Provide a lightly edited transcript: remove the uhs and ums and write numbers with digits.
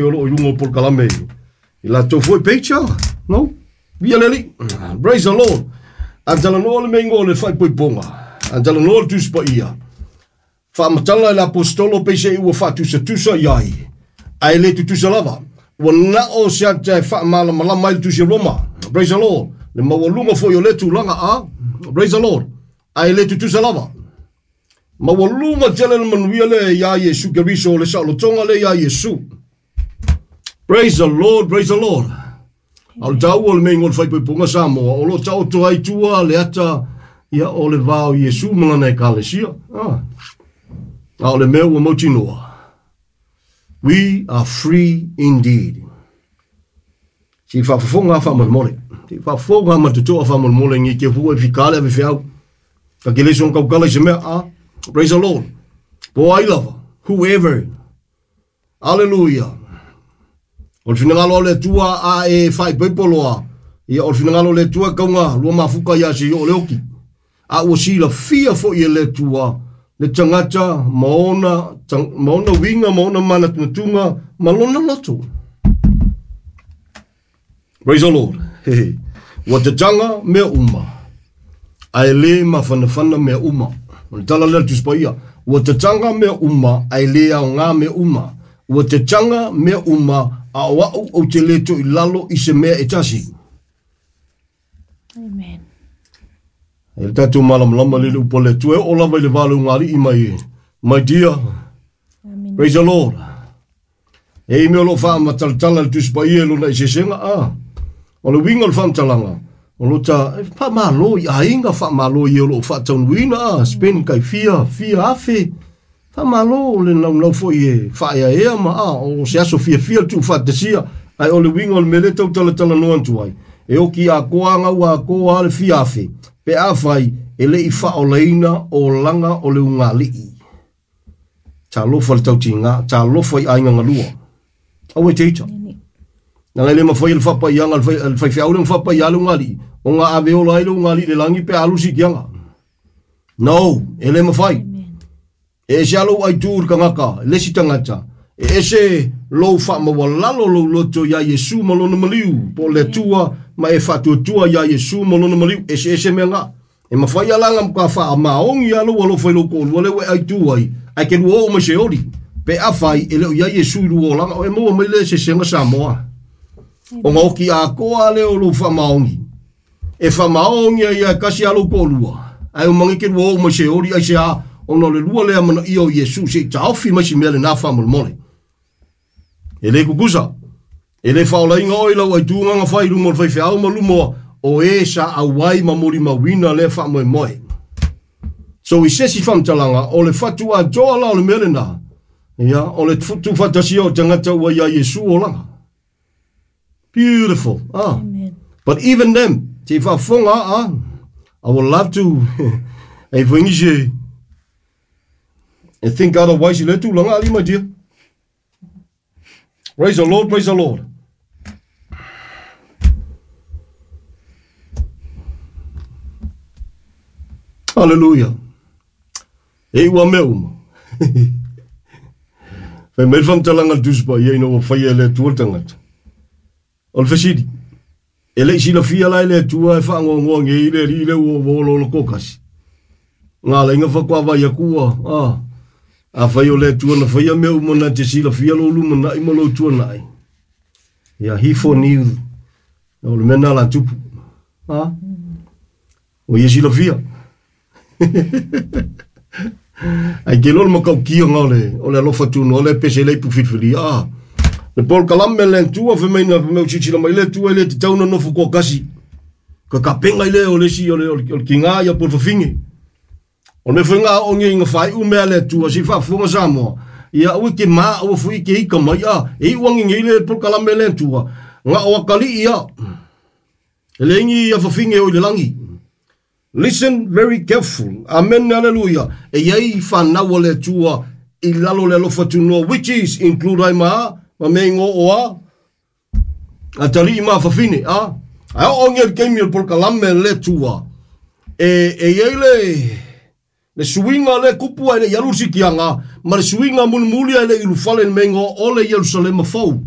o loo i luga o polokalame i latou foi page ah. No? Via le Alii. Praise the Lord. A talanoa le mea igoa o le faaipoipoga. A talanoa le Tusi Paia. Faamatala e le Aposetolo peiseai ua faatusatusa i ai, ae le tutusa lava. Ua na o se ata e faamalamalama ai le Tusi a Roma. Praise the Lord. Le maualuga foi o lea tulaga a. Praise the Lord. Ae le tutusa lava. Maualuga tele le manuia lea iā Iesu Keriso, o le saolotoga lea iā Iesu. Praise the Lord, praise the Lord. A o le taua o le mea o le faaipoipoga Samoa, o lo o taoto ai tua le ata ia o le va o Iesu ma lana ekalesia. Ah. A o le mea ua mautinoa. We are free indeed. Se i faafofoga faamolemole. Se i faafofoga ma totoa faamolemole ngi ke fua i fikale ave feau. Ka ke leso kaukala i se mea. Ah. Praise the Lord. Po ai lava. Whoever. Aleluia. O le finagalo o le Atua a e faaipoipo loa, ia o le finagalo o le Atua e kauga lua mafuka ia se i oo le oki. A ua silafia foi e le Atua le tagata ma ona, ma ona uiga ma ona manatunatuga ma lona loto. Praise the Lord. Ua tataga mea uma, ae le mafanafana mea uma. O le tala lea a le Tusi Paia. Ua tataga mea uma, ae le aoga mea uma. Ua tataga mea uma, a o au ou te le toe i lalo i se mea e tasi. Amen. E le tatou malamalama le le upu a le Atua e oo lava i le va o le ugali'i mai, my dear. Amen. Praise the Lord. E i mea o lo o faamatalatala le Tusi Paia i lona eseesega, a. O le uiga o le faamatalaga, o lo ta, e faamalo i aiga, faamalo i e o lo o faataunuuina, a, spend kai fia, fia afe, faamalo le naunau foi e faaeaea ma, a, o se aso fiafia le tuufaatasia, ae o le uiga o le mea lea e tau talatalanoa atu ai, e oki atoa a gau atoa le fia afe, pe afai e le i faaolaina olaga o le ugali'i. Talofa le tautiga, talofa i aiga galua. Aua e te ita. Leaga e le mafai e le faapaiaga a le faifeau lea ona faapaia le ugali'i, ona ave ola ai le ugali'i i le lagi pe a alu le siitiaga. No, e le mafai. E ese lava lou aitu i le tagata, le isi tagata, e ese lou faamaualalo lou loto iā Iesu ma lona maliu, po o le Atua ma e faatuatua iā Iesu ma lona maliu, eseese mea na. E mafai lava la ona matua faamaoni lava lou alofa i lou toalua lea ua e aitu ai, ae te lua oo mai Seoli, pe afai e le o i ai Iesu i lua olaga, e maua mai le eseesega Samoa. Ona oti atoa lava lea o lou faamaoni. E faamaoni ai lava e tasi lava lou toalua, ae omai e te lua oo mai Seoli, aisea? Ona o le lua lea amanaia o Iesu se i taofi mai si mea lena faamolemole. E le tutusa. E le faaolaina oe i lau aituga na fai i luma o le faifeau ma luma o e sa auai ma molimauina lea faamoemoe. So i se isi faamatalaga, o le fatu atoa la o le mea lena, ia, o le tuufaatasia o tagata ua iā Iesu olaga. Beautiful. Ah. Amen. But even them, te faafofoga, ah, I would love to, e foi nisi e think otherwise i lea tulaga, ali my dear. Praise the Lord, praise the Lord. Hallelujah. E ua mea uma. Fai mai le faamatalaga a le Tusi Paia ina ua faia e le Atua le tagata. O le fesili, e le i silafia la e le Atua e faanoanoa nei le alii lea ua ua olaola toatasi? Ngā lainga faatoa vaai atu ua, a, afai o le Atua na faia mea uma na te silafia lou lumanai ma lou tuanai. Ia, he foreknew, o le mea na la tupu. A, o ia silafia. Ai ke loa le matautia o le, o le alofa tunoa le pese le ipu filifili. A, le polokalame le Atua fai mai na fai mai o silasila mai le Atua e le tatau ona nofo toatasi. Ka kapenga i lea o le isi o le, o le, o le tiga ia po o le fafine. O le mea foi na aoaogia ina faaiu mea a le Atua se i faafofoga Samoa, ia aua e te ma, aua foi e te ita mai, a, e iu ane nei le polokalame le Atua, na o atalii ia. E leai ni afafine o i le lagi. Listen very careful. Amen, hallelujah. E iai whanau a le Atua i lalo le alofa tunoa, which is include ai ma, ma mea ingoa o a, atalii ma afafine, a. Ae oo ngia le taimi o le polokalame le Atua, e iai le, Le suiga le kupu ai le i alu le sikiaga ma le suiga mulimuli ai le i ulufale i le meiga o le Ierusalema fou.